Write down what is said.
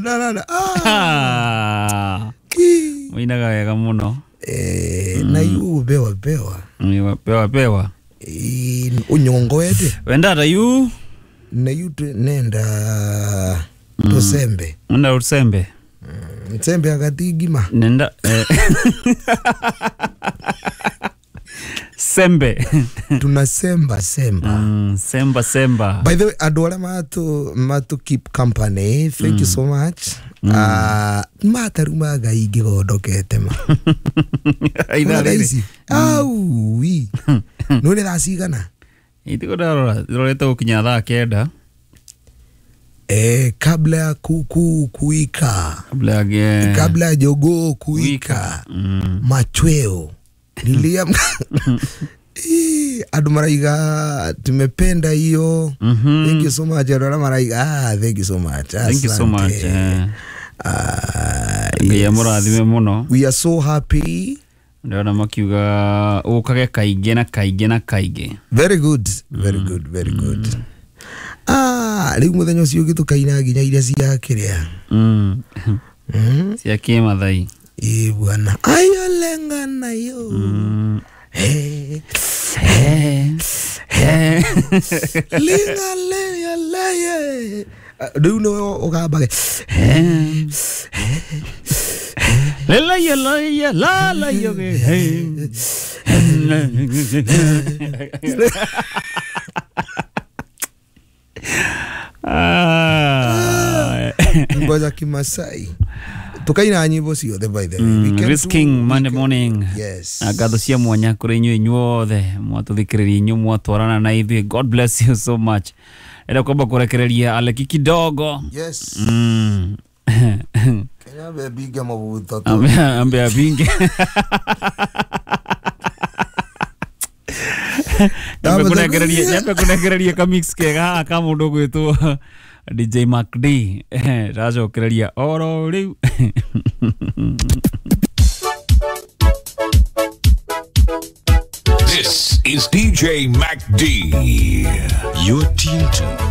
Na, ah. Ah. Muinaga wega muno. Eh, na yu bewa bewa. Ni pewa pewa. Eh, unyongoete Wendata yu na yu nenda tusembe. Nenda usembe. Nsembe akatigima. Nenda sembe. Tunasemba semba. Semba semba. By the way, andå arä a matu keep company, thank you so much. Mataruma ngai ngä gondokete ma. Ithaa Ona rĩrĩ. ici aui nä rä thaa cigana? Itiko ndarora ndorete gũkinya thaa 9. Eh, kabla ya kuku kuika, kabla ya kabla ya jogoo kuika, machweo niliamka. Ii, andå maraiga tumependa hiyo. Thank you so much. Andå arĩa maraiga, ah, thank you so much. Thank you so much. Asante. Ah, Ngai yes. amũrathime mũno. We are so happy. Ndĩrona makiuga ũkage kaingĩ na kaingĩ na kaingĩ. Very good, very good, very good. Ah, rĩu mũthenya ũcio ũngĩ tũkaina nginya iria cia kĩrĩa. Cia kĩmathai. Ĩ bwana ayolenga nayo. Hey, Eh. linga leya leye. Ah, rĩu nĩwe ũgambage. Lelaya laya la la yo ge. Ah. Nyimbo za Kimasai tukaina nyimbo ciothe, by the way. We can Risking Monday morning. Yes. Na ngatho cia mwanya kũrĩ inyuĩ inyuothe mwatũthikĩrĩria, inyuĩ mwatwarana na ithuĩ. God bless you so much. Enda kwamba kũrekereria aleki kidogo. Yes. Kenya bebinge mabuto tu. Ambe apinge. Nyambe kũnekereria kamix kega haha ka mũndũ ũgwĩtwo DJ Mac D. Ndacokereria oro rĩu. This is DJ Mac D. You're tuned to